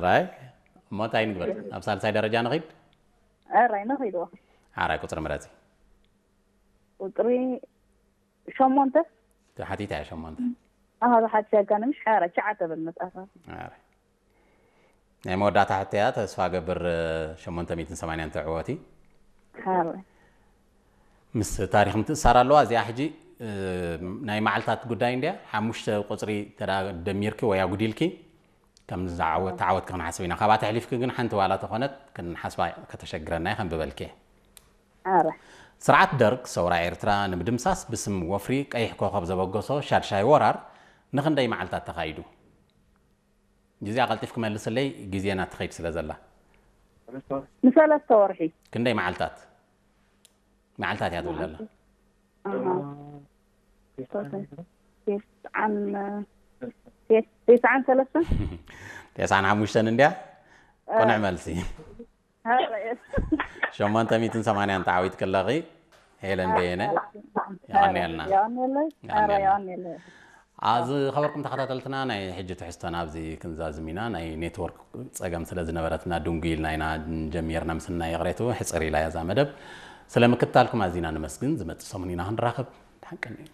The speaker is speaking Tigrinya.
ራይ እሞ እንታይ ንግበር? ኣብ ሳልሳይ ደረጃ ንኺድ። ኣራይ ነኺድዎ። ሓራይ ቁፅሪ ምረፂ። ቁፅሪ ሸሞንተ። ተሓቲታ እያ ሸሞንተ። ኣሃ ብሓቲ ያጋነ ምሽ ሓራ ቻዓ ተብል መፅኣፋ። ሓራይ ናይ መወዳእታ ሕተያ ተስፋ ገብር ሸሞንተ ሚእትን ሰማንያን ተዕወቲ። ሓራ ምስ ታሪክ ምትእሳር ኣለዋ እዚኣ ሕጂ። ናይ መዓልታት ጉዳይ እንድያ። ሓሙሽተ ቁፅሪ ተዳ ደሚርኪ ወይ ኣጉዲልኪ ከም ዝዓወት ተዓወትኪ ክንሓስብ ኢና። ካብኣ ተሕሊፍኪ ግን ሓንቲ ዋላ ተኾነት ክንሓስባ ከተሸግረና እየ። ከንብበልኪ እየ። ሓራ ስርዓት ደርግ ሰውራ ኤርትራ ንምድምሳስ ብስም ወፍሪ ቀይሕ ኮኸብ ዘበገሶ ሻድሻይ ወራር ንኽንደይ መዓልታት ተኻይዱ? ግዜ ኣቐልጢፍ ክመልስለይ ግዜና ትኸይድ ስለ ዘላ። ንሰለስተ ወርሒ። ክንደይ መዓልታት? መዓልታት እያ ትብል ዘላ። ኣሃ። ተስዓን ተስዓን ሰለስተ። ተስዓን ሓሙሽተን እንድያ። ቅኑዕ መልሲ። ሸሞንተ ሚእትን ሰማንያን ተዓዊት ክለኺ። ሄለን በየነ። የቐንየልና። የቐንየለይ። ኣረ የቐንየለይ። ዝኸበርኩም ተኸታተልትና ናይ ሕጂ ትሕዝቶና ኣብዚ ክንዛዝም ኢና። ናይ ኔትወርክ ፀገም ስለ ዝነበረትና ድንጉ ኢልና ኢና ጀሚርና። ምስናይ ይቕሬቱ ሕፅር ኢላ እያ እዛ መደብ። ስለ ምክትታልኩም ኣዚና ንመስግን። ዝመፅእ ሰሙን ኢና ክንራኸብ። ደሓን ቀንዩ።